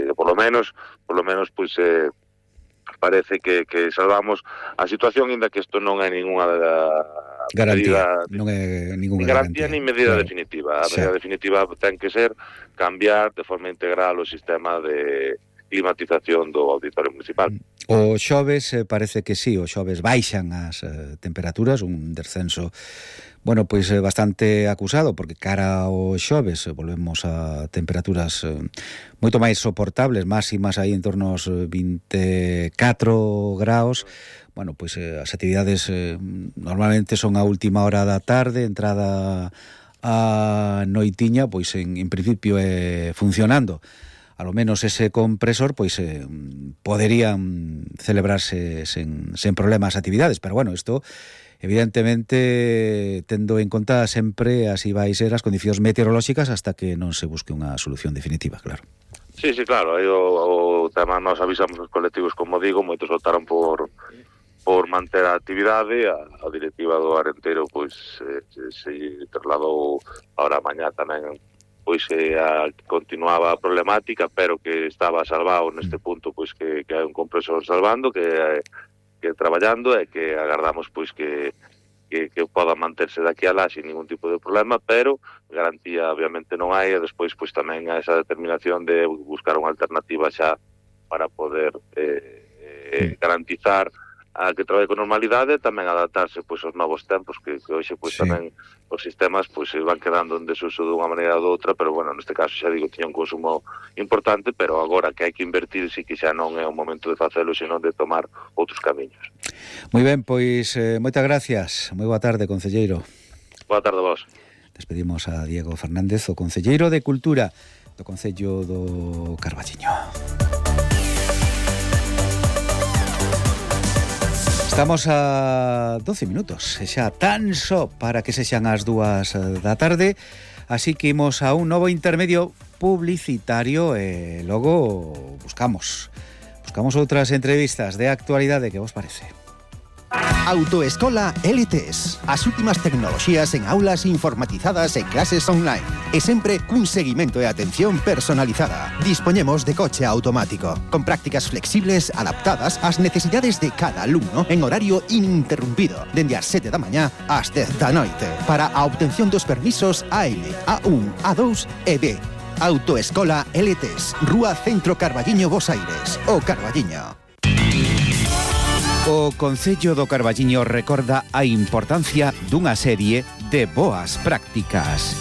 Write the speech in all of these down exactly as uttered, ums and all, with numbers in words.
que por lo menos, por lo menos, pois, eh, parece que, que salvamos a situación, ainda que isto non é ninguna garantía, medida, non é ninguna garantía, garantía, ni medida claro. definitiva. A Xa. medida definitiva ten que ser cambiar de forma integral o sistema de climatización do auditorio municipal. O xoves eh, parece que sí, o xoves baixan as eh, temperaturas, un descenso, bueno, pois eh, bastante acusado, porque cara ao xoves eh, volvemos a temperaturas eh, moito máis soportables, máximas aí en torno aos vinte e catro graus. Bueno, pois eh, as actividades eh, normalmente son a última hora da tarde, entrada a noitiña, pois en, en principio é eh, funcionando. A lo menos ese compresor, pois eh, poderían celebrarse sen, sen problemas as actividades, pero bueno, isto evidentemente tendo en conta sempre así vai ser as condicións meteorolóxicas hasta que non se busque unha solución definitiva, claro. Sí, sí, claro, aí o, o tema nos avisamos os colectivos, como digo, moitos votaron por por manter a actividade. A, a directiva do Arenteiro pois eh, se trasladou ahora mañá tamén, pois eh, a, continuaba a problemática, pero que estaba salvado neste punto, pois que, que hai un compresor salvando, que, que traballando, e que agardamos pois que, que, que poda manterse daqui a lá sin ningún tipo de problema, pero garantía obviamente non hai, e despois pois tamén a esa determinación de buscar unha alternativa xa para poder eh, eh, garantizar a que traballe con normalidade, tamén adaptarse pois aos novos tempos, que, que hoxe pois sí. Tamén os sistemas pois se van quedando en desuso dunha maneira ou doutra, pero bueno, neste caso xa digo, tiña un consumo importante, pero agora que hai que invertir, si que xa non é o momento de facelo, senón de tomar outros camiños. Moi ben, pois eh, moitas gracias. Moi boa tarde, concelleiro. Boa tarde a vos. Despedimos a Diego Fernández, o concelleiro de Cultura do Concello do Carballiño. Estamos a doce minutos, xa tan só para que sexan as dúas da tarde, así que imos a un novo intermedio publicitario e logo buscamos, buscamos outras entrevistas de actualidade. Que vos parece? Autoescola L T S. As últimas tecnoloxías en aulas informatizadas e clases online. E sempre cun seguimento e atención personalizada. Dispoñemos de coche automático, con prácticas flexibles adaptadas ás necesidades de cada alumno en horario ininterrumpido, dende as sete da mañá ás dez da noite, para a obtención dos permisos A L, A un, A dous e B. Autoescola L T S. Rúa Centro Carballiño, Bos Aires. O Carballiño. O Concello do Carballiño recorda a importancia dunha serie de boas prácticas.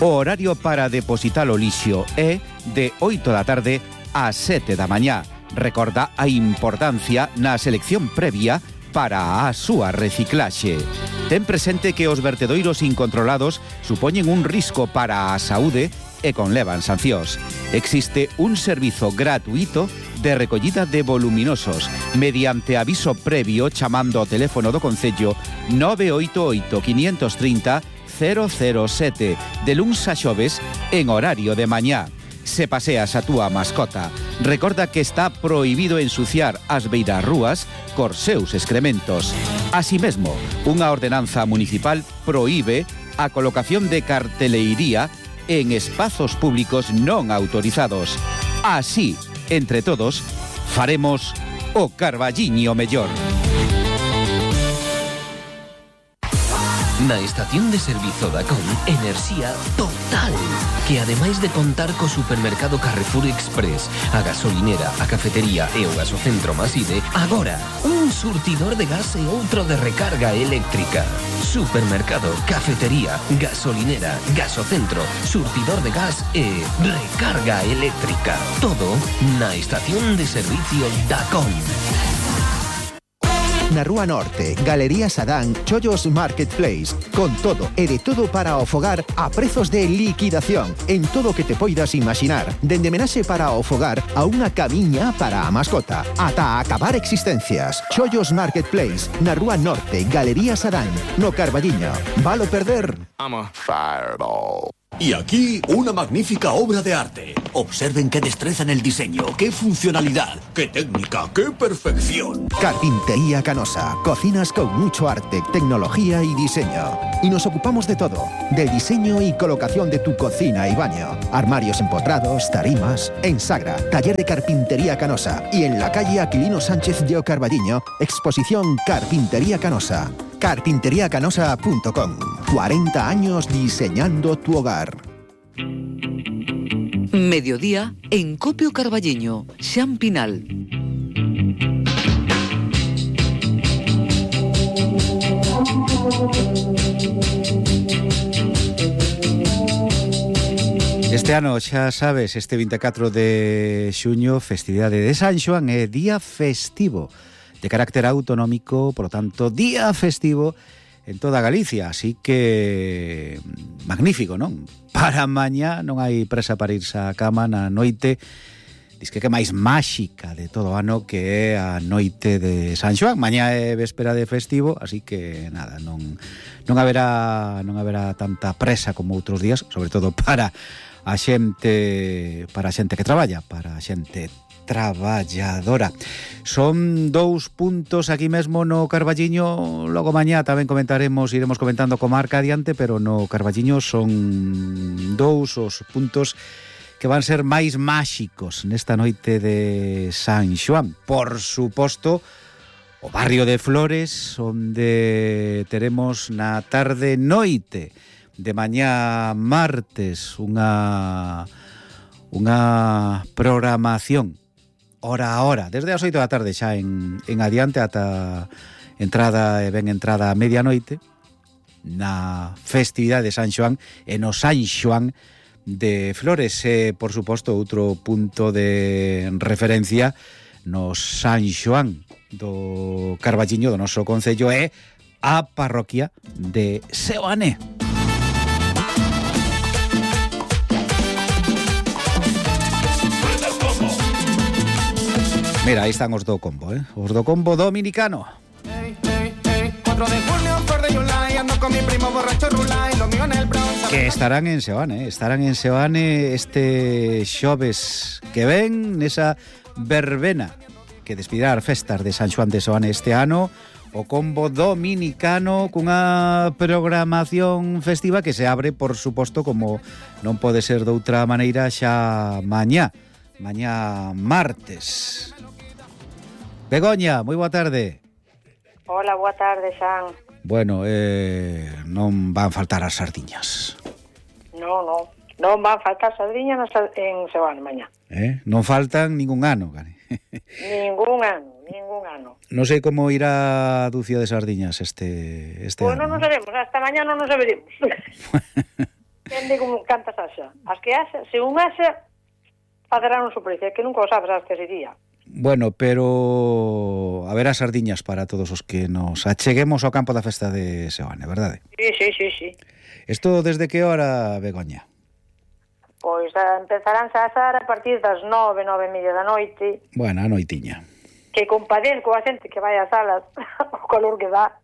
O horario para depositar o lixo é de oito da tarde a sete da mañá. Recorda a importancia na selección previa para a súa reciclaxe. Ten presente que os vertedoiros incontrolados supoñen un risco para a saúde e conlevan sancións. Existe un servizo gratuito de recollida de voluminosos mediante aviso previo chamando ao teléfono do Concello nove oito oito, cinco tres cero, cero cero sete de luns a xoves en horario de mañá. Se paseas a túa mascota, recorda que está prohibido ensuciar as beirarrúas cos seus excrementos. Así mesmo, unha ordenanza municipal proíbe a colocación de carteleiría en espazos públicos non autorizados. Así, entre todos, faremos o Carballiño mellor. Na estación de servizo da C O M, enerxía total, que ademais de contar co supermercado Carrefour Express, a gasolinera, a cafetería e o gasocentro Maside, agora un surtidor de gas e outro de recarga eléctrica. Supermercado, cafetería, gasolinera, gasocentro, surtidor de gas e recarga eléctrica. Todo na estación de servicio da C O M. Na Rúa Norte, Galería Sadán, Chollos Marketplace. Con todo e de todo para o fogar a prezos de liquidación en todo o que te poidas imaginar. Dende menaxe para o fogar a unha camiña para a mascota. Ata acabar existencias. Chollos Marketplace, na Rúa Norte, Galería Sadán, no Carballiño. Valo perder? I'm a fireball. Y aquí una magnífica obra de arte. Observen qué destreza en el diseño, qué funcionalidad, qué técnica, qué perfección. Carpintería Canosa. Cocinas con mucho arte, tecnología y diseño. Y nos ocupamos de todo. Del diseño y colocación de tu cocina y baño. Armarios empotrados, tarimas. En Sagra, taller de Carpintería Canosa. Y en la calle Aquilino Sánchez de Ocarballiño, exposición Carpintería Canosa. carpintería canosa punto com. cuarenta años diseñando tu hogar. Mediodía en Copio Carballiño, Xan Pinal. Este ano, xa sabes, este veinticuatro de xuño, festividade de San Xoán, é día festivo de carácter autonómico, por lo tanto, día festivo en toda Galicia, así que magnífico, non? Para mañá non hai presa para irse á cama na noite, diz que que máis máxica de todo o ano, que é a noite de San Xoán. Mañá é véspera de festivo, así que nada, non non haberá non haberá tanta presa como outros días, sobre todo para a xente, para a xente que traballa, para a xente traballadora. Son dous puntos aquí mesmo no Carballiño, logo mañá tamén comentaremos, iremos comentando co marca adiante, pero no Carballiño son dous os puntos que van ser máis máxicos nesta noite de San Xoán. Por suposto, o barrio de Flores, onde teremos na tarde noite de mañá martes unha unha programación hora a hora, desde as oito da tarde xa en, en adiante ata entrada e ben entrada a medianoite na festividade de San Xoán e no San Xoán de Flores. E, por suposto, outro punto de referencia no San Xoán do Carballiño, do noso concello, é a parroquia de Seoane. Mira, aí están os do combo, eh? Os do combo dominicano. Hey, hey, hey, cuatro de julio, flor de July, ando con mi primo borracho Rulay, lo mío en el Bronx. Que estarán en Seoane, eh? Estarán en Seoane este xoves que ven nesa verbena que despedirá as festas de San Xoán de Seoane este ano. O combo dominicano cunha programación festiva que se abre, por suposto, como non pode ser de outra maneira, xa mañá. Mañá martes. Begoña, moi boa tarde. Hola, boa tarde, Xan. Bueno, eh, non van faltar as sardiñas. No, no, non van faltar sardiñas en Seoane mañá. Eh? Non faltan ningún ano, Gani. Ningún ano, ningún ano. Non sei como irá a dúcia de sardiñas este, este bueno, ano. Bueno, non sabemos, hasta mañá non nos saberemos. Depende como cantas haxa. As que haxa, se un haxa, facerán un sorpresa, que nunca o sabes hasta ese día. Bueno, pero haberá sardiñas para todos os que nos acheguemos ao campo da festa de Seoane, verdade? Sí, sí, sí, sí. Isto desde que hora, Begoña? Pois empezarán a asar a partir das nove, nove e media da noite. Bueno, a noitiña. Que compadezco a xente que vai ás salas, o calor que dá.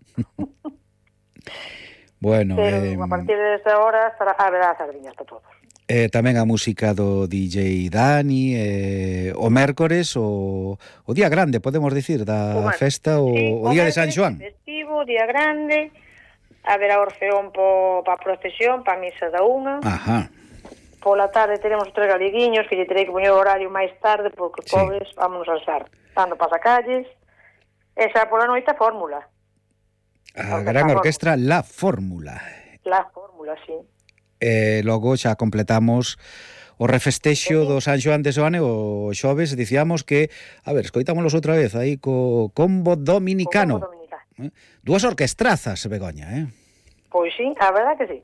Bueno, pero eh, a partir desa hora estará, haberá sardiñas para todos. Eh, tamén a música do D J Dani, eh, o mércores, o, o día grande, podemos dicir, da o festa, o, sí, o día de San Xoán. Festivo, día grande, haberá orfeón para a procesión, para a misa da unha. Ajá. Pola tarde teremos tres galiguiños, que lle terei que poñer o horario máis tarde, porque, sí, pobres, vámonos a alzar, dando pasacalles. Esa pola noite a fórmula. A gran orquestra La Fórmula. La Fórmula, sí. E logo xa completamos o refestexo do San Xoán de Seoane o xoves, dicíamos que, a ver, escoitámonos outra vez aí co combo dominicano. Co combo dominicano. Eh? Dúas orquestrazas, Begoña, eh? Pois sí, a verdad que sí.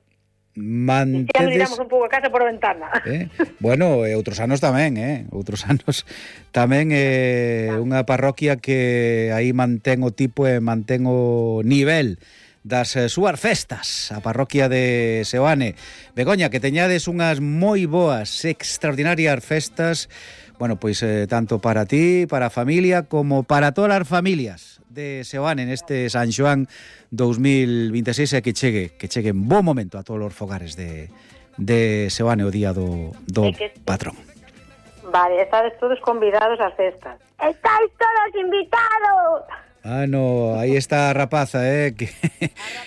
Mantedes... E xa miramos un pouco a casa por a ventana. Eh? Bueno, e outros anos tamén, eh? Outros anos tamén é eh, unha parroquia que aí mantén o tipo e mantén o nivel das eh, súas festas, a parroquia de Seoane. Begoña, que teñades unhas moi boas, extraordinarias festas, bueno, pois eh, tanto para ti, para a familia, como para todas as familias de Seoane neste San Xoán dos mil vinte e seis, e que chegue, que chegue en bo momento a todos os fogares de, de Seoane o día do, do que... patrón. Vale, estades todos convidados ás festas. Estáis todos invitados. Ah, no, aí está a rapaza, eh que...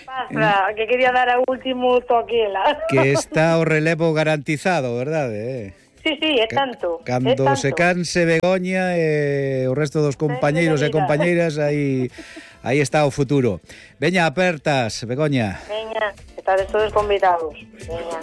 A rapaza, que quería dar a último toquela. Que está o relevo garantizado, verdade, eh? Sí, sí, é tanto. Cando é tanto. se canse Begoña e o resto dos compañeiros e compañeiras, aí aí está o futuro. Veña, apertas, Begoña. Veña, estades todos convidados. Veña.